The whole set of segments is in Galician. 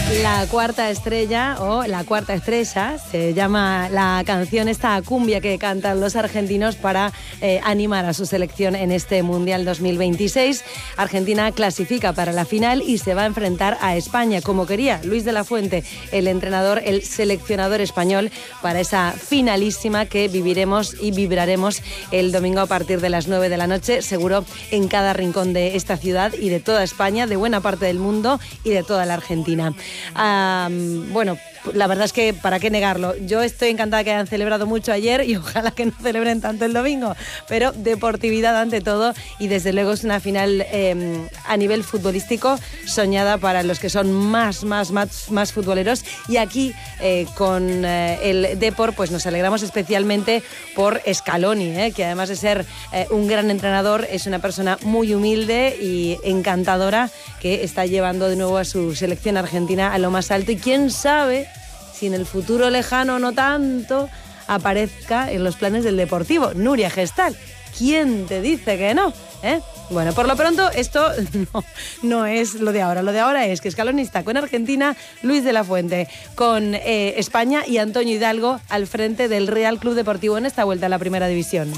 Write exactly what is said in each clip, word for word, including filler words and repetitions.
La cuarta estrella o la cuarta estrella se llama la canción, esta cumbia que cantan los argentinos para eh, animar a su selección en este Mundial dos mil veintiséis. Argentina clasifica para la final y se va a enfrentar a España, como quería Luis de la Fuente, el entrenador, el seleccionador español, para esa finalísima que viviremos y vibraremos el domingo a partir de las nueve de la noche, seguro en cada rincón de esta ciudad y de toda España, de buena parte del mundo y de toda la Argentina. Um, bueno, la verdad es que para qué negarlo, yo estoy encantada que hayan celebrado mucho ayer y ojalá que no celebren tanto el domingo, pero deportividad ante todo y desde luego es una final eh, a nivel futbolístico soñada para los que son más, más, más, más futboleros, y aquí eh, con eh, el Depor pues nos alegramos especialmente por Scaloni, eh, que además de ser eh, un gran entrenador es una persona muy humilde y encantadora que está llevando de nuevo a su selección argentina a lo más alto, y quién sabe si en el futuro lejano no tanto aparezca en los planes del Deportivo. Nuria Gestal, ¿quién te dice que no? ¿Eh? Bueno, por lo pronto esto no, no es lo de ahora. Lo de ahora es que Scaloni está con Argentina, Luis de la Fuente con eh, España y Antonio Hidalgo al frente del Real Club Deportivo en esta vuelta a la Primera División.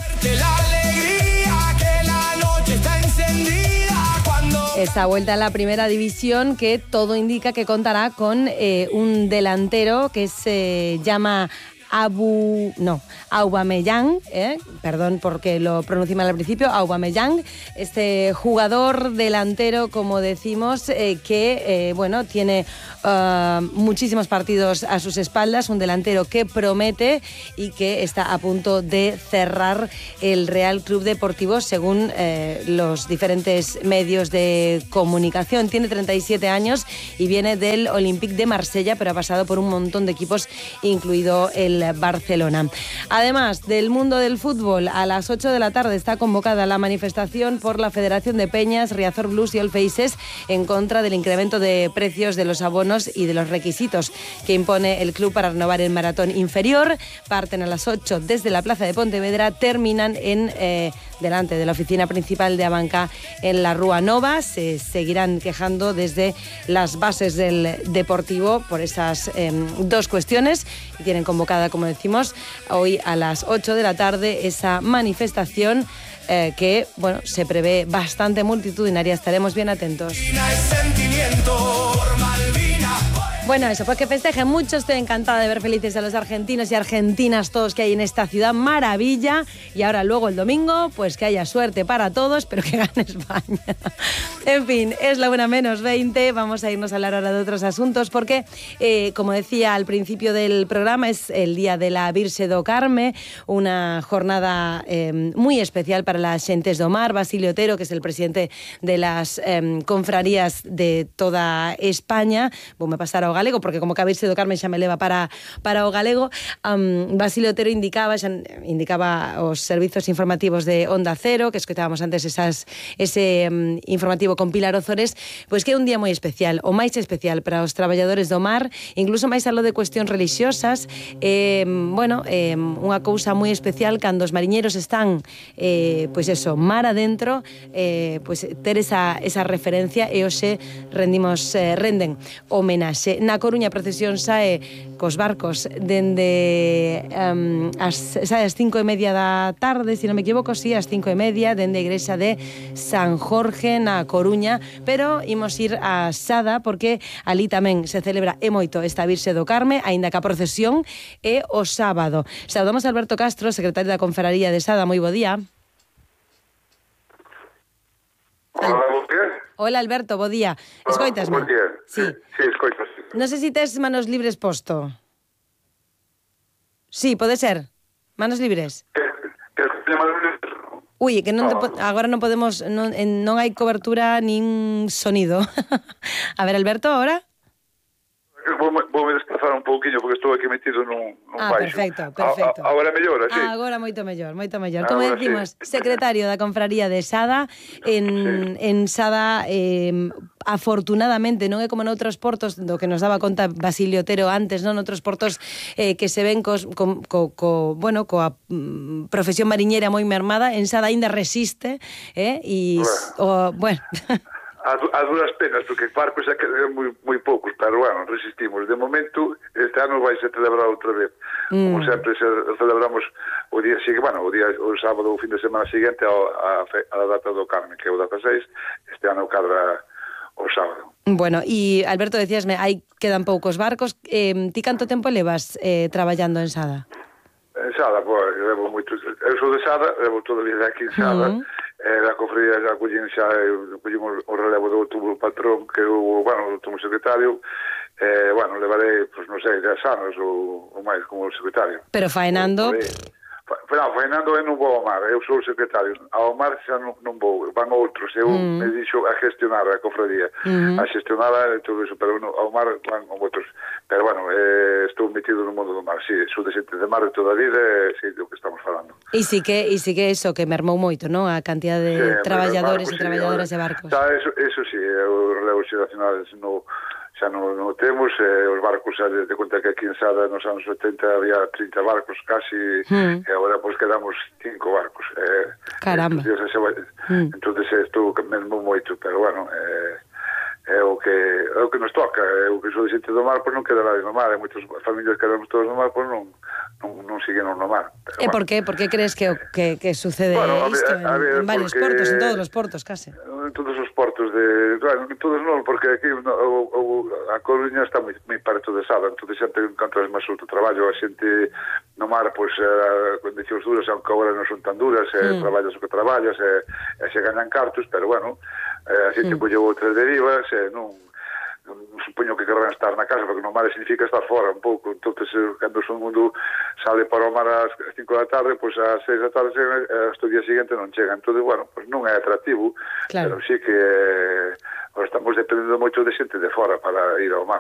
Esta vuelta a la Primera División que todo indica que contará con eh, un delantero que se llama Abu... no, Aubameyang, eh, perdón porque lo pronuncié mal al principio, Aubameyang, este jugador delantero, como decimos, eh, que, eh, bueno, tiene uh, muchísimos partidos a sus espaldas, un delantero que promete y que está a punto de cerrar el Real Club Deportivo según eh, los diferentes medios de comunicación. Tiene treinta y siete años y viene del Olympique de Marsella, pero ha pasado por un montón de equipos, incluido el Barcelona. Además del mundo del fútbol, a las ocho de la tarde está convocada la manifestación por la Federación de Peñas, Riazor Blues y All Faces en contra del incremento de precios de los abonos y de los requisitos que impone el club para renovar el maratón inferior. Parten a las ocho desde la Plaza de Pontevedra, terminan en eh, delante de la oficina principal de Abanca en la Rúa Nova. Se seguirán quejando desde las bases del Deportivo por esas eh, dos cuestiones y tienen convocada, como decimos, hoy a las ocho de la tarde esa manifestación eh, que, bueno, se prevé bastante multitudinaria. Estaremos bien atentos. Bueno, eso, pues que festejen mucho. Estoy encantada de ver felices a los argentinos y argentinas todos que hay en esta ciudad, maravilla. Y ahora luego el domingo, pues que haya suerte para todos, pero que gane España. En fin, es la una menos veinte. Vamos a irnos a hablar ahora de otros asuntos porque, eh, como decía al principio del programa, es el día de la Virxe do Carme, una jornada eh, muy especial para las xentes do mar. Basilio Otero, que es el presidente de las eh, confrarías de toda España, vou me pasar ao galego, porque como que a Virxe do Carme xa me leva para, para o galego. um, Basilio Otero indicaba xa, indicaba os servizos informativos de Onda Cero, que escoitábamos antes esas, ese um, informativo con Pilar Ozores, pois que é un día moi especial, o máis especial para os traballadores do mar, incluso máis aló de cuestións religiosas. eh, bueno, eh, unha cousa moi especial cando os mariñeros están eh, pois eso, mar adentro, eh, pois ter esa, esa referencia, e hoxe rendimos, eh, renden homenaxe. Na Coruña a procesión sae cos barcos dende um, as, sae as cinco e media da tarde, se non me equivoco, sí, as cinco e media, dende a igrexa de San Jorge na Coruña, pero imos ir a Sada porque ali tamén se celebra e moito esta Virxe do Carme, aínda que a procesión é o sábado. Saudamos a Alberto Castro, secretario da Confraría de Sada. Moi bo día. Hola, bo día. Hola, Alberto, bo día. Escoitasme? Bo día. Sí. Sí, escoitas. Non sei se tes manos libres posto. Sí, pode ser. Manos libres. Que, que, que Ui, que non te po- agora non podemos, non, en, non hai cobertura nin sonido. A ver, Alberto, ahora? Vou, vou me desplazar un pouquinho porque estou aquí metido nun, nun Ah, baixo. perfecto, perfecto. A, a, agora mellora, sí. Ah, agora moito mellor, moito mellor. Como Agora decimos, sí. secretario da Confraría de Sada, en, sí. en Sada, eh, afortunadamente, non é como noutros portos, do que nos daba conta Basilio Otero antes, non? Noutros portos eh, que se ven cos, co, co, co, bueno, coa mm, profesión mariñera moi mermada, en Sada aínda resiste, eh? E, o, bueno... A, a duras penas, porque barcos xa quedan moi, moi poucos, pero bueno, resistimos. De momento, este ano vai se celebrar outra vez. Mm. Como sempre, se celebramos o día seguinte, bueno, o día, o sábado, o fin de semana seguinte, a, a, a data do Carmen, que é o dezaseis, este ano cadra o sábado. Bueno, e Alberto, decíasme, hai quedan poucos barcos. Eh, ti canto tempo levas eh, traballando en Sada? En Sada, pois, levo moito... Eu sou de Sada, levo toda a vida aquí en Sada. Mm. Eh, a cofradía xa collín xa, collimos o relevo do último patrón, que o, bueno, o último secretario. Eh, bueno, levarei, pois, non sei, dez anos ou, ou máis como secretario. Pero faenando... Non, faenando eu non vou ao mar, eu sou o secretario. Ao mar xa non, non vou, van outros. Eu mm. me dixo a gestionar a cofradía, mm. a gestionar e todo iso, pero no, ao mar van outros. Pero, bueno, eh, estou metido no mundo do mar, sí, sou de xente de mar de toda a vida, e sí, do que estamos falando. E sí que, e sí que eso, que mermou moito, non? A cantidad de sí, traballadores e traballadoras sí, de barcos. Xa, eso, eso sí, o relevo xeracional no... xa non, non temos, eh, os barcos xa de conta que aquí en Sada nos anos oitenta había trinta barcos casi, mm. e agora pois quedamos cinco barcos. Eh, Caramba. Entonces, se vai, mm. entonces estou mesmo moito, pero bueno, eh, é o que é o que nos toca, é o que sou de xente do mar, pois non quedará no mar, e moitas familias quedamos todos no mar, pois non non, non siguen no mar. Pero, e bueno. por qué? Por que crees que, que, que sucede bueno, isto en, a ver, en varios porque, portos, en todos os portos, case? En todos os portos de... Claro, en todos non, porque aquí no, o, o, a Coruña está moi, moi parto de Sada, entón xente encontras máis outro traballo, a xente no mar, pois, eh, condicións duras, aunque agora non son tan duras, eh, mm. traballas o que traballas, e eh, se ganan cartos, pero bueno, eh, a xente mm. colleu outras derivas, e eh, non... supoño que querrán estar na casa, porque no mar significa estar fora un pouco, entonces cando o mundo sale para o mar ás cinco da tarde, pois ás seis da tarde chegan, hasta o día seguinte non chegan, entón, bueno, pois non é atractivo, claro. Pero sí que eh, estamos dependendo moito de xente de fora para ir ao mar.